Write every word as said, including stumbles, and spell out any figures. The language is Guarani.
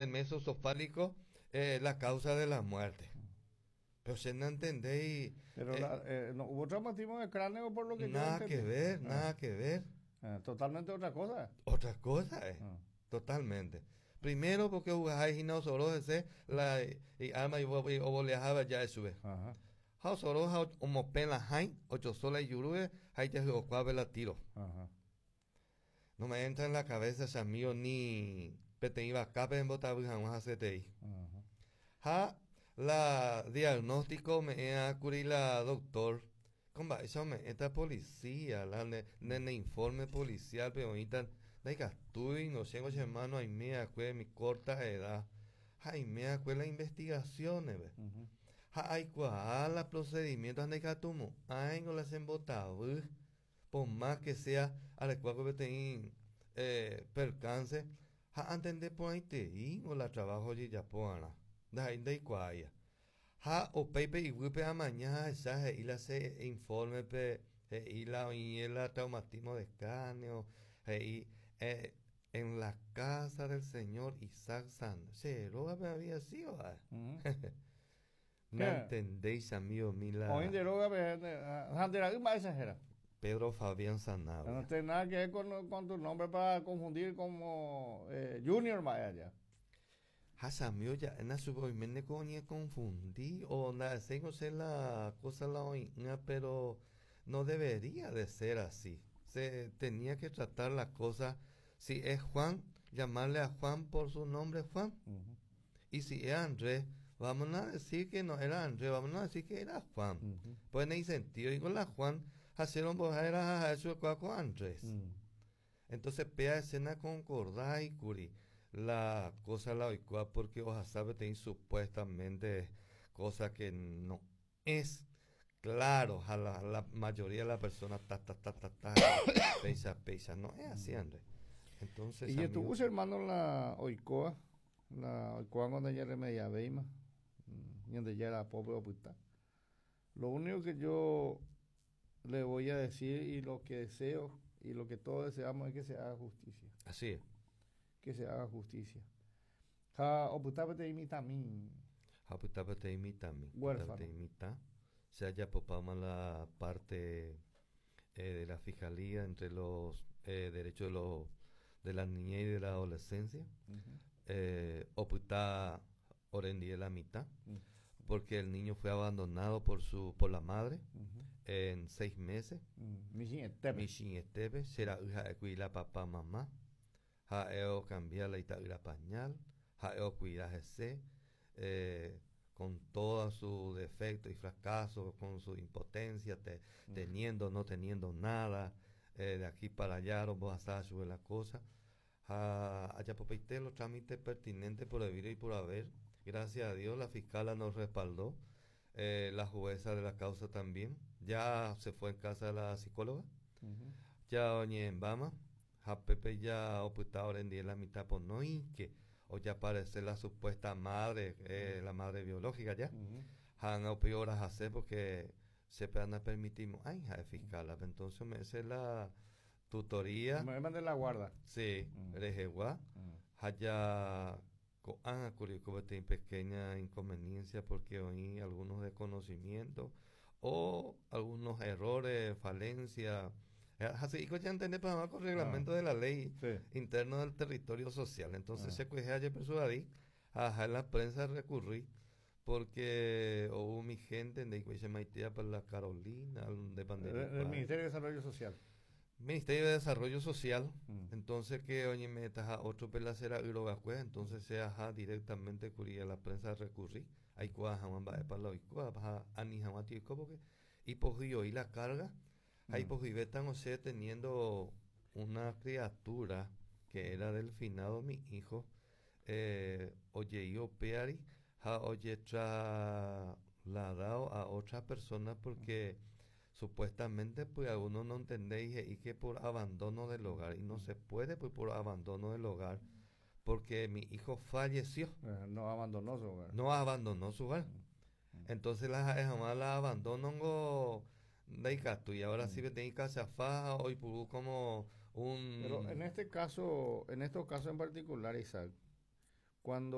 Mesocefálico eh, la causa de la muerte. Pero se no entendéis. Pero eh, la, eh, no hubo traumatismo de cráneo por lo que yo Nada entendí. Que ver, Ah. Nada que ver. Ah, totalmente otra cosa. Otra cosa es. Ah. Totalmente. Primero porque jugáis y no solo ese la y arma y o ya sube. Ajá. Ha solo ha omopen la hain ocho sola y yurue hay ya la tiro. Ajá. No me entra en la cabeza, amigo, ni peteĩ vakápe embotavy hag̃ua hasyetei. Ajá. Ha la diagnóstico ome'ẽkuri la doctor ko mba'éicha ome'ẽta policía la ne, ne informe policial pe oĩta ndaikatúi no chéngo che hermano aime'akue mi corta edad ha aime'akue la investigaciones Ujú. Ha aikuaa la procedimiento ha ndaikatumo'ãingo la chembotavy por más que sea arekuáko peteĩ eh, percance ha antende porãiteíngo la trabajo ojejapo'arã ndaha'éi ndaikuaáia ha upéipe iguýpe amaña ahecha he'i la che informe pe he'i la oĩ la traumatismo de cráneo he'i eh, en la casa del señor Isaac San che rógape había sido. Ujú. No entendéis, amigo mi la Oĩ nde rógape ha nde ra'y mba'éicha héra. Pedro Fabián Sanabria. No tiene nada que ver con, con tu nombre para confundir como eh, Junior mba'e allá. Ha chamigo ja'éna chupe oiméne ko oñeconfundi o nda'eséiko che la cosa la oĩ'ỹva, pero no debería de ser así. Se tenía que tratar la cosa, si es Juan, llamarle a Juan por su nombre Juan. Ujú. Y si es Andrés, vamos a decir que no era Andrés, vamos a decir que era Juan. Ujú. Pues en ese sentido, y con la Juan, hacer un era eso con Andrés. Mm. Entonces, pea escena concordáis, curi, la cosa la oikua porque ohasápe teĩ supuestamente cosa que no es claro a la, la mayoría de la personas ta ta ta ta ta peisa peisa no es así, Andrés. Entonces Y amigo, estuvo su hermano la oikóva, la oikóva cuando ella remediavéima, donde ya era pobre opyta. Lo único que yo le voy a decir y lo que deseo y lo que todos deseamos es que se haga justicia. Así es. Que se haga justicia. Ha opyta peteĩ mitãmi. Ha opyta peteĩ mitãmi. Huérfano. Peteĩ mitã se haya popado la parte eh, de la fiscalía entre los eh, derechos de los de la niñez y de la adolescencia, eh, opyta orendive la mitad porque el niño fue abandonado por su por la madre en seis meses. Michĩetépe. Michĩetépe che ra'y ha'ékuri la papá mamá ha'e ocambia la ita'ýra pañal, ha'e ocuida hese eh, con todo su defecto y fracaso, con su impotencia, te, teniendo, no teniendo nada, eh, de aquí para allá, rombohasa chupe la cosa. Ha ajapopaite los trámites pertinentes por debido y por haber. Gracias a Dios la fiscala nos respaldó, eh, la jueza de la causa también. Ya se fue en casa de la psicóloga. Ya oñe'ẽmbáma, ha pépe ya opyta orendive la mitad por no que o ya aparece la supuesta madre, eh, la madre biológica ya. Ha ág̃a upéi orahase porque se van permitimos, ay, ja, fiscal, entonces me hace la tutoría. Me de la guarda. Sí, rehegua. Ha ja ko'ág̃a kuri peteĩ pequeña inconveniencia porque oĩ algunos desconocimientos o algunos errores, falencias. Así ya entender para con reglamento de la ley Sí. interno del territorio social. Entonces Ah. se kuehe ajepersuadi, ajá, en la prensa recurrí porque hubo mi gente de maitia para la Carolina, de El, Bandera. el Ministerio de Desarrollo Social. Ministerio de Desarrollo Social. Mm. Entonces que oye me taja otro pelacera yrogakue, entonces se ajá directamente kuri a la prensa recurrí. Aikuaa hag̃ua mba'épa la oikóva ha ani hag̃ua oiko porque ipohýi la carga ha Mm. ipohyivéta osẽ teniendo una criatura que era del finado mi hijo, eh, ojei upéari ha ojetrasladado a otra persona porque supuestamente pues algunos no entendéis y que por abandono del hogar y no se puede pues por abandono del hogar porque mi hijo falleció. Eh, no abandonó su hogar. No abandonó su hogar. Entonces la jamás la abandonó ndaikatúi y ahora sí peteĩ cachafa oipuru como un Pero en este caso, en estos casos en particular, Isaac, Cuando